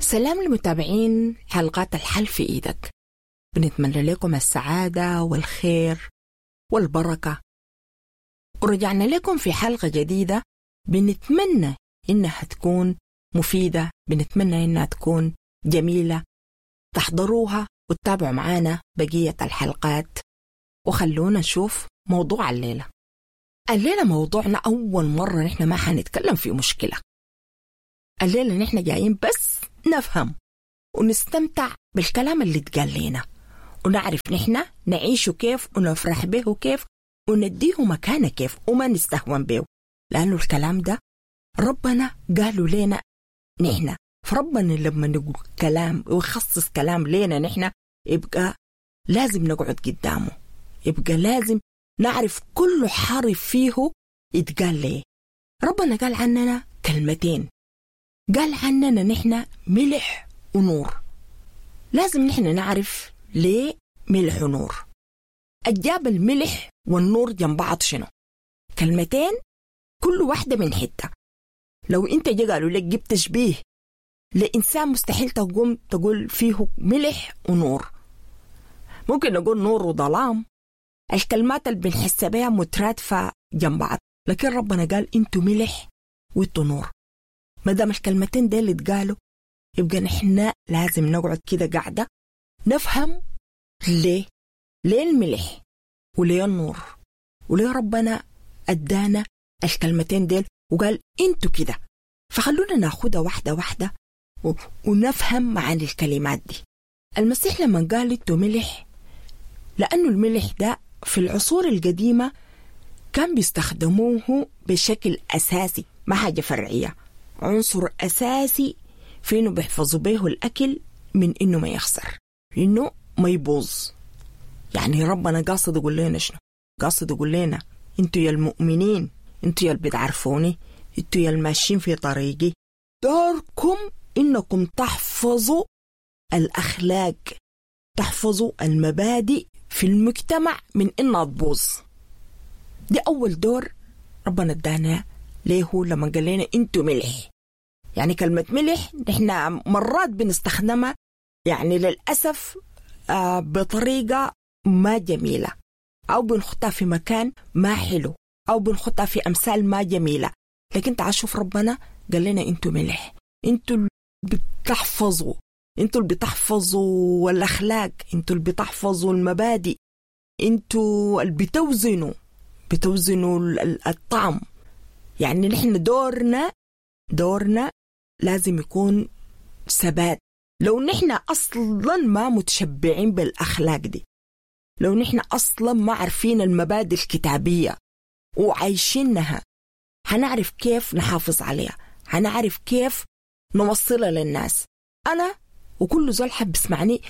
سلام لمتابعين حلقات الحل في إيدك. بنتمنى لكم السعادة والخير والبركة، ورجعنا لكم في حلقة جديدة بنتمنى إنها تكون مفيدة، بنتمنى إنها تكون جميلة. تحضروها وتتابعوا معانا بقية الحلقات، وخلونا نشوف موضوع الليلة. الليلة موضوعنا أول مرة نحن ما حنتكلم في مشكلة. الليلة نحن جايين بس نفهم ونستمتع بالكلام اللي اتقال لنا، ونعرف نحن نعيشه كيف ونفرح به كيف ونديه مكانه كيف وما نستهون به، لأنه الكلام ده ربنا قالوا لنا نحن. فربنا لما نقول كلام ويخصص كلام لنا نحن يبقى لازم نقعد قدامه، يبقى لازم نعرف كل حرف فيه يتقال ليه. ربنا قال عننا كلمتين، قال عننا نحن ملح ونور. لازم نحن نعرف ليه ملح ونور. الجاب الملح والنور جنب بعض شنو؟ كلمتين كل واحدة من حتة. لو انت جا قالوا لك جبت تشبيه لإنسان مستحيل تقوم تقول فيه ملح ونور. ممكن نقول نور وظلام، الكلمات اللي بنحس بها مترادفة جنب بعض، لكن ربنا قال انتوا ملح وانتوا نور. ما دام الكلمتين ديل اتقالوا يبقى نحن لازم نقعد كده قاعدة نفهم ليه الملح وليه النور، وليه ربنا ادانا الكلمتين ديل وقال انتوا كده. فخلونا ناخدها واحدة واحدة ونفهم معاني الكلمات دي. المسيح لما قال انتوا ملح، لأنه الملح ده في العصور القديمة كان بيستخدموه بشكل أساسي، ما حاجة فرعية، عنصر أساسي في إنه بيحفظوا به الأكل من إنه ما يخسر، إنه ما يبوظ. يعني ربنا قاصد يقول لنا شنو؟ قاصد يقول لنا انتوا يا المؤمنين، انتوا يا اللي بتعرفوني، انتوا يا الماشيين في طريقي، دوركم إنكم تحفظوا الأخلاق، تحفظوا المبادئ في المجتمع من إنها تبوظ. دي أول دور ربنا ادانا ليه لما قال لنا انتوا ملح. يعني كلمة ملح نحن مرات بنستخدمها يعني للأسف بطريقة ما جميلة، أو بنحطها في مكان ما حلو، أو بنحطها في أمثال ما جميلة. لكن تعال شوف ربنا قال لنا انتوا ملح، انتوا بتحفظوا، انتوا اللي بتحفظوا الأخلاق، انتوا اللي بتحفظوا المبادئ، انتوا اللي بتوزنوا الطعم. يعني نحن دورنا لازم يكون ثبات. لو نحن أصلا ما متشبعين بالأخلاق دي، لو نحن أصلا ما عارفين المبادئ الكتابية وعايشينها، هنعرف كيف نحافظ عليها، هنعرف كيف نوصلها للناس. أنا وكل زول حب يسمعني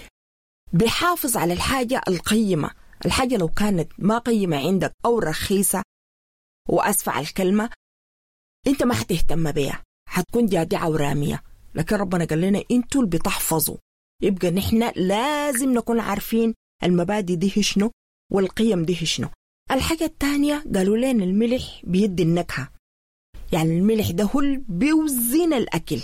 بيحافظ على الحاجة القيمة. الحاجة لو كانت ما قيمة عندك أو رخيصة، وأسفة على الكلمة، أنت ما حتهتم بيها، حتكون جادعة ورامية. لكن ربنا قال لنا أنتوا اللي بتحفظوا، يبقى نحن لازم نكون عارفين المبادئ دي شنو والقيم دي شنو. الحاجة الثانية قالوا لنا الملح بيدي النكهة. يعني الملح ده هو اللي بيوزن الأكل،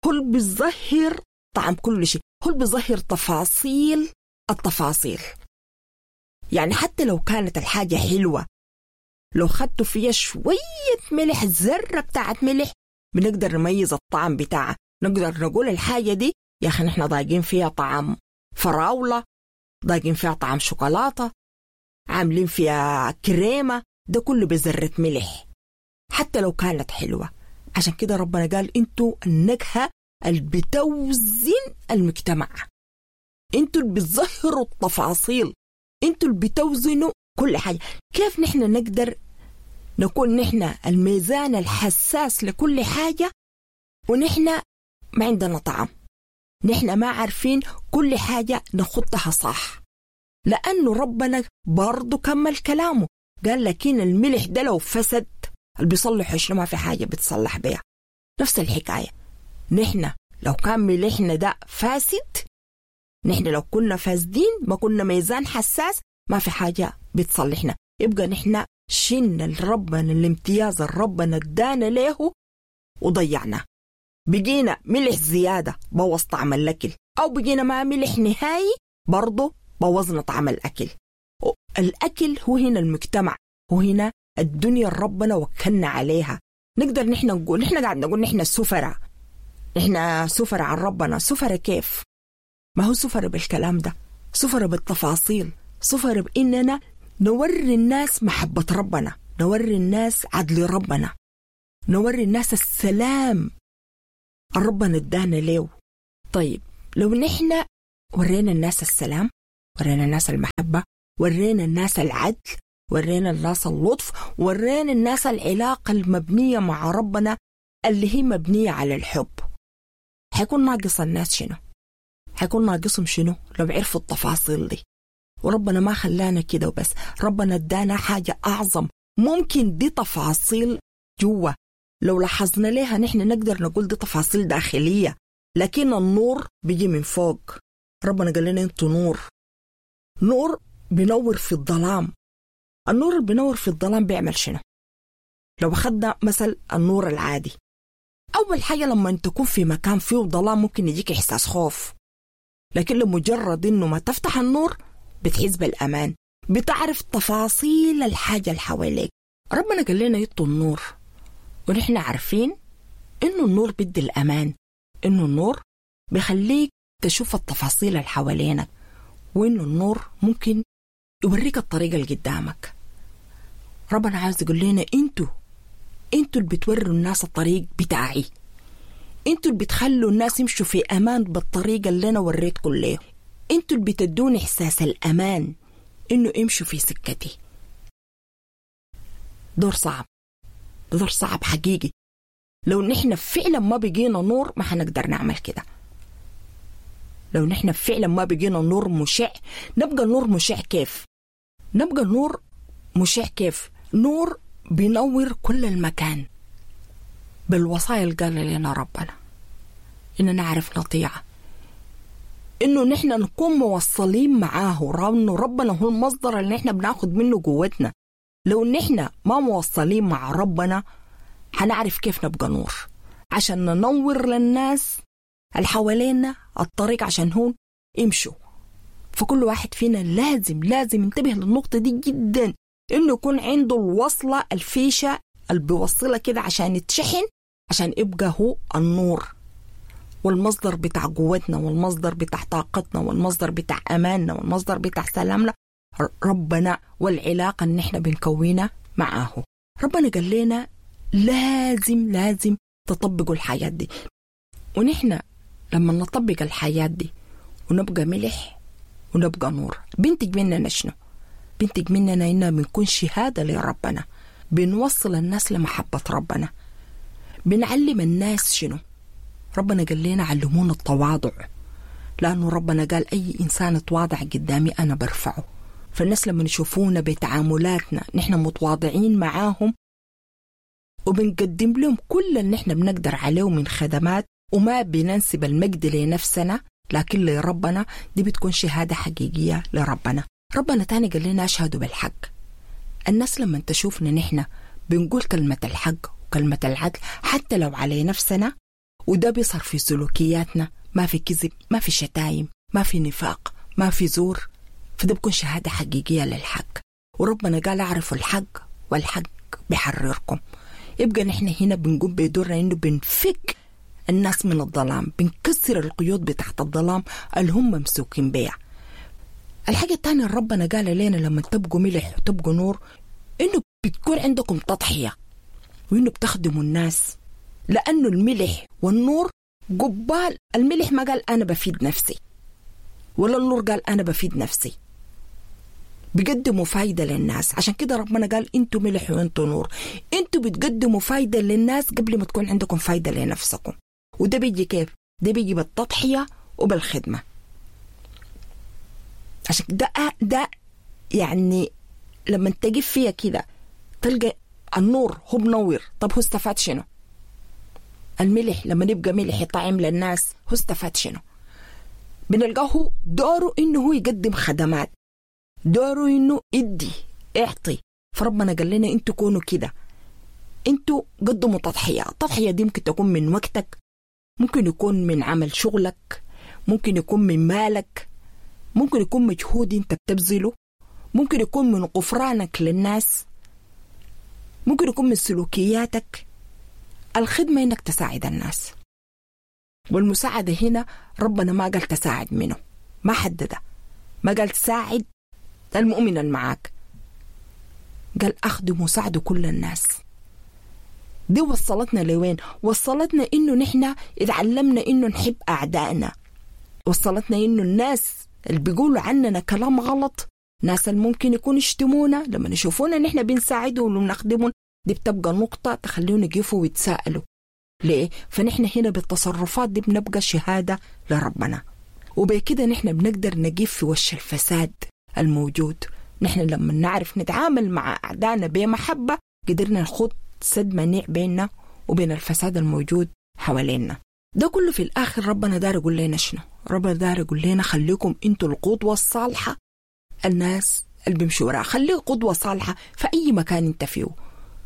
هو اللي بيظهر طعم كل شيء، هو اللي بيظهر تفاصيل التفاصيل. يعني حتى لو كانت الحاجة حلوة، لو خدتوا فيها شوية ملح، ذرة بتاعت ملح، بنقدر نميز الطعم بتاعها. نقدر نقول الحاجة دي يا أخي نحن ضايقين فيها طعم فراولة، ضايقين فيها طعم شوكولاتة، عاملين فيها كريمة، ده كله بذرة ملح حتى لو كانت حلوة. عشان كده ربنا قال انتوا النكهة اللي بتوزن المجتمع، انتوا اللي بتظهروا التفاصيل، انتوا اللي بتوزنوا كل حاجة. كيف نحن نقدر نكون نحن الميزان الحساس لكل حاجة ونحن ما عندنا طعم؟ نحن ما عارفين كل حاجة نخطها صح، لأنه ربنا برضو كمل كلامه قال لكن الملح ده لو فسد اللي بيصلحه شنو؟ ما في حاجة بتصلح بيها. نفس الحكاية، نحن لو كان ملحنا ده فاسد، نحن لو كنا فاسدين ما كنا ميزان حساس، ما في حاجة بتصلحنا. يبقى نحن شلنا لربنا الامتياز اللي ربنا ادانا له وضيعنا. بقينا ملح زيادة بوظ طعم الأكل، أو بقينا ما ملح نهائي برضو بوظنا طعم الأكل. الأكل هو هنا المجتمع، هو هنا الدنيا ربنا وكلنا عليها. نقدر نحن نقول، نحن قاعد نقول نحن سفرة، نحن سفرة عن ربنا. سفرة كيف؟ ما هو سفرة بالكلام ده، سفرة بالتفاصيل، سفرة بإننا نوري الناس محبة ربنا، نوري الناس عدل ربنا، نوري الناس السلام ربنا ادانا ليه. طيب لو نحن ورينا الناس السلام، ورينا الناس المحبة، ورينا الناس العدل، ورينا الناس اللطف، ورينا الناس العلاقة المبنية مع ربنا اللي هي مبنية على الحب، حيكون ناقص الناس شنو؟ حيكون ناقصهم شنو لو عرفوا التفاصيل دي؟ وربنا ما خلانا كده وبس، ربنا ادانا حاجة أعظم. ممكن دي تفاصيل جوا لو لاحظنا ليها نحن نقدر نقول دي تفاصيل داخلية، لكن النور بيجي من فوق. ربنا قال لنا انتوا نور، نور بينور في الظلام. النور اللي بينور في الظلام بيعمل شنو؟ لو أخذنا مثل النور العادي، أول حاجة لما أنت تكون في مكان فيه ظلام ممكن يجيك إحساس خوف، لكن لمجرد إنه ما تفتح النور بتحس بالأمان، بتعرف تفاصيل الحاجة اللي حواليك. ربنا قال لنا يطوا النور، ونحن عارفين إنه النور بيدي الأمان، إنه النور بيخليك تشوف التفاصيل اللي حوالينك، وإنه النور ممكن يوريك الطريقة اللي قدامك. ربنا عاوز يقول لنا انتوا اللي بتوروا الناس الطريق بتاعي، انتوا اللي بتخلوا الناس يمشوا في امان بالطريقة اللي انا وريتكم ليه، انتوا اللي بتدوني احساس الامان انه امشوا في سكتي. دور صعب، دور صعب حقيقي. لو نحن فعلا ما بقينا نور ما حنقدر نعمل كده. لو نحن فعلا ما بقينا نور مشع، نبقى نور مشع كيف؟ نبقى نور مشع كيف؟ نور بينور كل المكان بالوصايا اللي قال لنا ربنا إننا نعرف نطيعه، إنه نحن نكون موصلين معاه، إنه ربنا هو المصدر اللي نحن بناخد منه قوتنا. لو نحن ما موصلين مع ربنا هنعرف كيف نبقى نور عشان ننور للناس اللي حوالينا الطريق عشان هون يمشوا. فكل واحد فينا لازم ينتبه للنقطة دي جدا، إنه يكون عنده الوصلة الفيشة اللي بيوصلها كده عشان يتشحن، عشان يبقى هو النور والمصدر بتاع قوتنا والمصدر بتاع طاقتنا والمصدر بتاع أماننا والمصدر بتاع سلامنا ربنا، والعلاقة اللي نحن بنكونها معاه. ربنا قال لنا لازم تطبقوا الحياة دي، ونحن لما نطبق الحياة دي ونبقى ملح ونبقى نور بنتج مننا شنو؟ بنتج مننا إننا بنكون شهادة لربنا، بنوصل الناس لمحبة ربنا، بنعلم الناس شنو؟ ربنا قال لنا علمونا التواضع، لأنه ربنا قال أي إنسان تواضع قدامي أنا برفعه. فالناس لما يشوفونا بتعاملاتنا نحن متواضعين معاهم وبنقدم لهم كل اللي نحن بنقدر عليه من خدمات، وما بننسب المجد لنفسنا لكن لربنا، دي بتكون شهادة حقيقية لربنا. ربنا تاني قال لنا اشهدوا بالحق. الناس لما تشوفنا نحن بنقول كلمة الحق وكلمة العدل حتى لو على نفسنا، وده بيصير في سلوكياتنا، ما في كذب، ما في شتايم، ما في نفاق، ما في زور، فده بيكون شهادة حقيقية للحق. وربنا قال اعرفوا الحق والحق بيحرركم. يبقى نحن هنا بنقوم بدورنا انه بنفك الناس من الظلام، بنكسر القيود بتاعت الظلام اللي هم ممسوكين بيها. الحاجة الثانية ربنا قال لنا لما تبقوا ملح وتبقوا نور إنه بتكون عندكم تضحية وإنه بتخدموا الناس، لأنه الملح والنور قبال. الملح ما قال أنا بفيد نفسي، ولا النور قال أنا بفيد نفسي، بيقدموا فايدة للناس. عشان كده ربنا قال انتوا ملح وانتوا نور، انتوا بتقدموا فايدة للناس قبل ما تكون عندكم فايدة لنفسكم. وده بيجي كيف؟ ده بيجي بالتضحية وبالخدمة. عشان ده يعني لما تجي فيها كده تلقى النور هو بنور، طب هو استفاد شنو؟ الملح لما نبقى ملح يطعم للناس هو استفاد شنو؟ بنلقاه دوره انه هو يقدم خدمات، دوره انه يدي اعطي. فربنا قال لنا انتوا كونوا كده، انتوا قدموا تضحية. التضحية دي ممكن تكون من وقتك، ممكن يكون من عمل شغلك، ممكن يكون من مالك، ممكن يكون مجهود انت بتبذله، ممكن يكون من غفرانك للناس، ممكن يكون من سلوكياتك. الخدمة انك تساعد الناس، والمساعدة هنا ربنا ما قال تساعد منه، ما حددها، ما قال تساعد المؤمن المعاك، قال أخدم وساعدوا كل الناس. دي وصلتنا لوين؟ وصلتنا إنه نحن اتعلمنا إنه نحب أعدائنا، وصلتنا إنه الناس اللي بيقولوا عننا كلام غلط، ناس اللي ممكن يكون يشتمونا لما يشوفونا نحن بنساعدهم وبنخدمهم، دي بتبقى نقطة تخليهم يقفوا ويتساءلوا ليه؟ فنحن هنا بالتصرفات دي بنبقى شهادة لربنا، وبكده نحن بنقدر نقف في وش الفساد الموجود. نحن لما نعرف نتعامل مع أعدائنا بمحبة قدرنا نخوض سد منيع بيننا وبين الفساد الموجود حوالينا. ده كله في الآخر ربنا دار يقول لنا شنو؟ ربنا دار يقول لنا خليكم انتوا القدوة الصالحة، الناس اللي بيمشوا وراها، خليك قدوة صالحة في أي مكان انت فيه،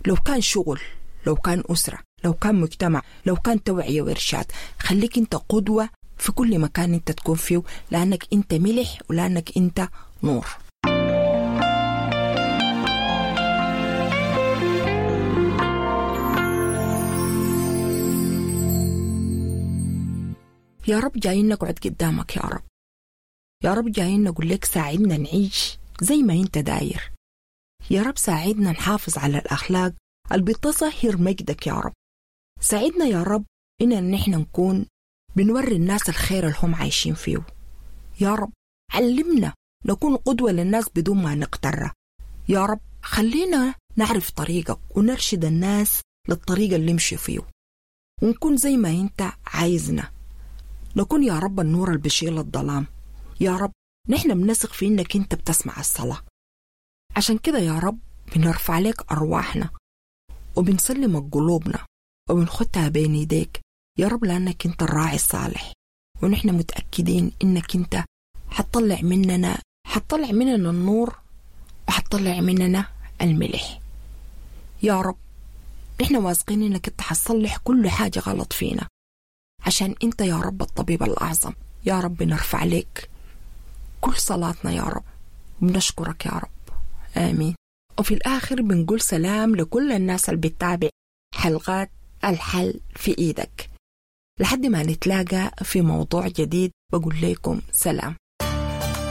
لو كان شغل، لو كان أسرة، لو كان مجتمع، لو كان توعية وإرشاد، خليك انت قدوة في كل مكان انت تكون فيه، لأنك انت ملح ولأنك انت نور. يا رب جايين نقعد قدامك يا رب، يا رب جايين نقول لك ساعدنا نعيش زي ما انت داير، يا رب ساعدنا نحافظ على الأخلاق اللي بتظهر مجدك يا رب، ساعدنا يا رب إننا نحن نكون بنوري الناس الخير اللي هم عايشين فيه، يا رب علمنا نكون قدوة للناس بدون ما نقترها، يا رب خلينا نعرف طريقك ونرشد الناس للطريق اللي يمشي فيه، ونكون زي ما انت عايزنا، نكون يا رب النور اللي بيشيل الظلام. يا رب نحن بنثق في انك انت بتسمع الصلاة، عشان كده يا رب بنرفع لك أرواحنا وبنسلمك قلوبنا وبنخدها بين يديك يا رب، لأنك انت الراعي الصالح، ونحن متأكدين انك انت حتطلع مننا النور وحتطلع مننا الملح. يا رب نحن واثقين انك انت حتصلح كل حاجة غلط فينا، عشان انت يا رب الطبيب الأعظم. يا رب نرفع لك كل صلاتنا يا رب، وبنشكرك يا رب، آمين. وفي الآخر بنقول سلام لكل الناس اللي بتتابع حلقات الحل في إيدك. لحد ما نتلاقى في موضوع جديد بقول لكم سلام.